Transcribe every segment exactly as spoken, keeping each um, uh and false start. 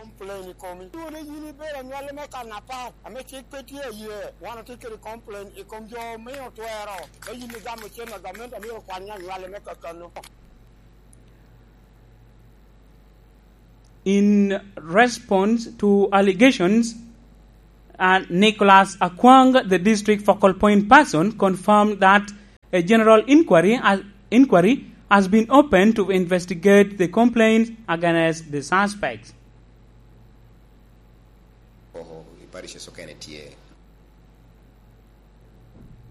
Complain i komi. Dwoni yin ibedo anywalli me kan apar, ame cik pe tye aye. Wan otye kede complain i kom jo omio twero. Me yin igamo cen a gamente amyero okwany anywalli me kakano. In response to allegations, uh, Nicholas Akwang, the district focal point person, confirmed that a general inquiry, uh, inquiry has been opened to investigate the complaints against the suspects. Oho, i parishes okene tye.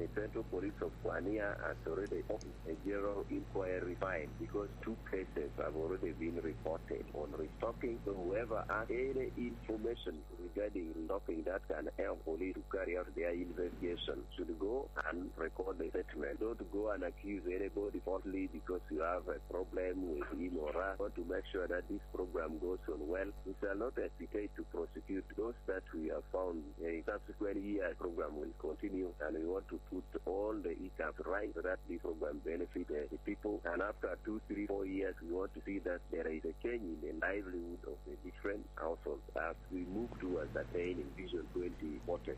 The Central Police of Kwania has already opened a general inquiry file because two cases have already been reported on restocking. So whoever has any information regarding restocking that can help police to carry out their investigation should go and record the statement. Don't go and accuse anybody falsely because you have a problem with him or her. Want to make sure that this program goes on well. We shall not hesitate to prosecute those that we have found. A subsequent year program will continue, and we want to put all the hiccups right so that this program benefit, uh, the people. And after two, three, four years, we want to see that there is a change in the livelihood of the different households as we move towards attaining Vision twenty forty.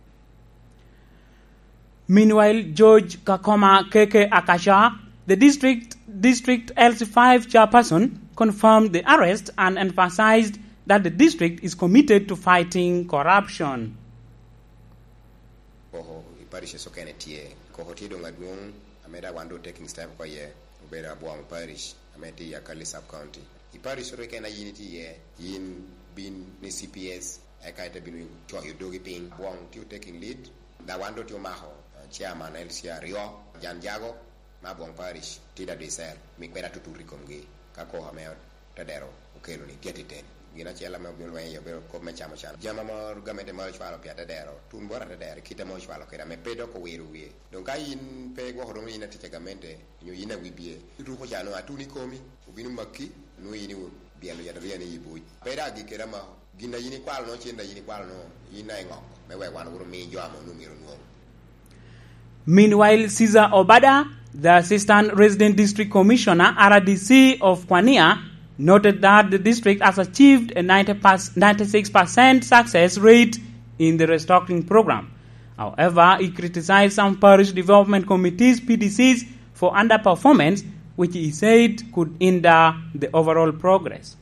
Meanwhile, George Kakoma Keke Akasha, the district, district L C five chairperson, confirmed the arrest and emphasized that the district is committed to fighting corruption. Koko i parishes okene tye. Koko tye doŋ adwoŋ, ame daŋ wan doŋ taking step oko iye, obedo Abwong Parish, ame tye i Akali Sub County. I parish oro keken a yin itye iye, yin bin ni C P S, eka ite bino coyo dogi piny. Abwong tye taking lead, daŋ wan doŋ tye omako, uh, chairman L C aryo, Jan Jago, me Abwong Parish, Tida Dicel, mi kweda tutut i komgi, ka koko ame Tedero okelo ni tye atiten. Gin acel ame obino lweny iye obedo kop me camo can. Jami ame gamente maro cwalo pi atedero, tun bot atedero i kite ame ocwalo kede ame pe dok owiro wie. Doŋ ka yin pe igwoko doŋ yin atic a gamente, onyo yin awibie, ituko ca nwoŋo atun i komi, obino maki, nwoŋo yin ibyelo yataria ni i buc. Pe daŋ agik kede amako. Gin a yin ikwalo nwoŋo, cen a yin ikwalo nwoŋo, yin a iŋoko, me wek wan wuro mi jo ame onwoŋo myero onwoŋ. Meanwhile, Caesar Obada, the Assistant Resident District Commissioner, R D C, of Kwania, noted that the district has achieved a ninety percent, ninety-six percent success rate in the restocking program. However, he criticized some parish development committees, P D Cs, for underperformance, which he said could hinder the overall progress.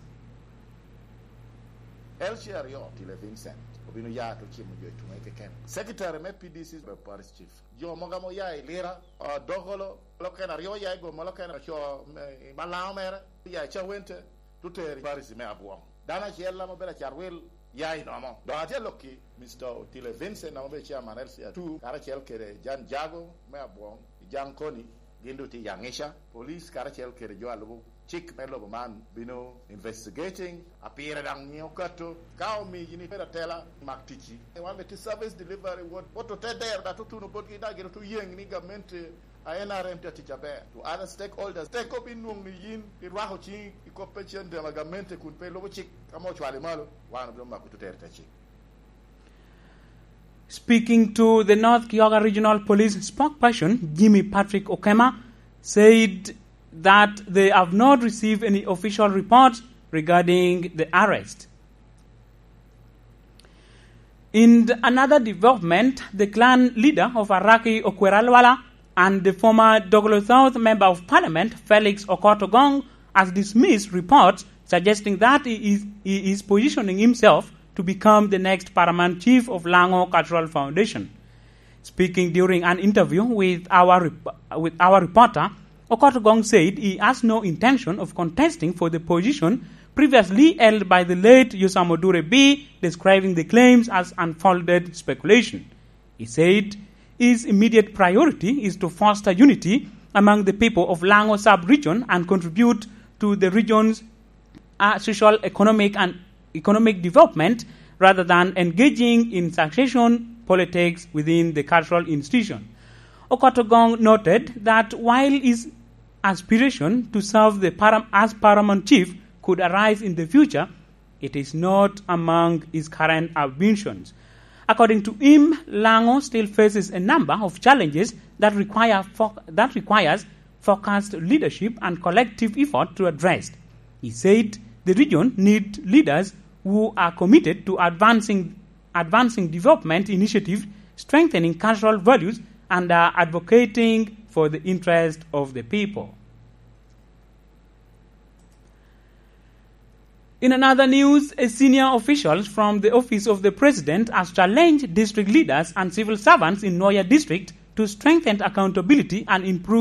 L C aryo, Tile Vincent, obino ya te cimo jo i tuŋe keken. Secretary me P D C, Parish Chief. Jo mogo ame oya i Lira, ah, Dokolo, mukene aryo oya i Goma, mukene oco me, i Malaŋo mere, oya i Cawente, te tero i Parish me Abwong. Dano acel ame obedo Acarwil ya i Nomo. Doŋ atye alokki, Mister Otile Vincent, ame obedo chairman L C R two, karacel kede Jan Jago me Abwong, i Jaŋ Koni, gin doŋ tye i Aŋica. Police karacel kede jo a lubo cik me lobo man bino investigating, a pire daŋ nyiŋ okato. Ka omiyi ni ibedo atela, mak ticci. Wan bene tye service delivery, wot, wot otedero, dok tutuno botgi, dok gin otuyeŋ ni gamente a N R M tye atic aber. To other stakeholders, teko bin nwoŋ ni yin irwako ciŋi i kop pe cen dema gamente kun pe ilubo cik, ka mo ocwali malo, wan obino mako tutere te cik. Speaking to the North Kyoga Regional Police spokesperson, Jimmy Patrick Okema, said that they have not received any official report regarding the arrest. In another development, the clan leader of Araki Okwera Lwala and the former Dogolo South Member of Parliament, Felix Okot Ogong, has dismissed reports suggesting that he is, he is positioning himself to become the next paramount chief of Lango Cultural Foundation. Speaking during an interview with our rep-, with our reporter, Okot Ogong said he has no intention of contesting for the position previously held by the late Yosam Odure B, describing the claims as unfounded speculation. He said his immediate priority is to foster unity among the people of Lango sub-region and contribute to the region's, uh, social, economic and economic development rather than engaging in succession politics within the cultural institution. Okot Ogong noted that while his aspiration to serve the param-, as paramount chief could arise in the future, it is not among his current ambitions. According to him, Lango still faces a number of challenges that require fo-, that requires focused leadership and collective effort to address. He said the region need leaders who are committed to advancing, advancing development initiatives, strengthening cultural values, and are advocating for the interest of the people. In another news, a senior officials from the Office of the President has challenged district leaders and civil servants in Nwoya District to strengthen accountability and improve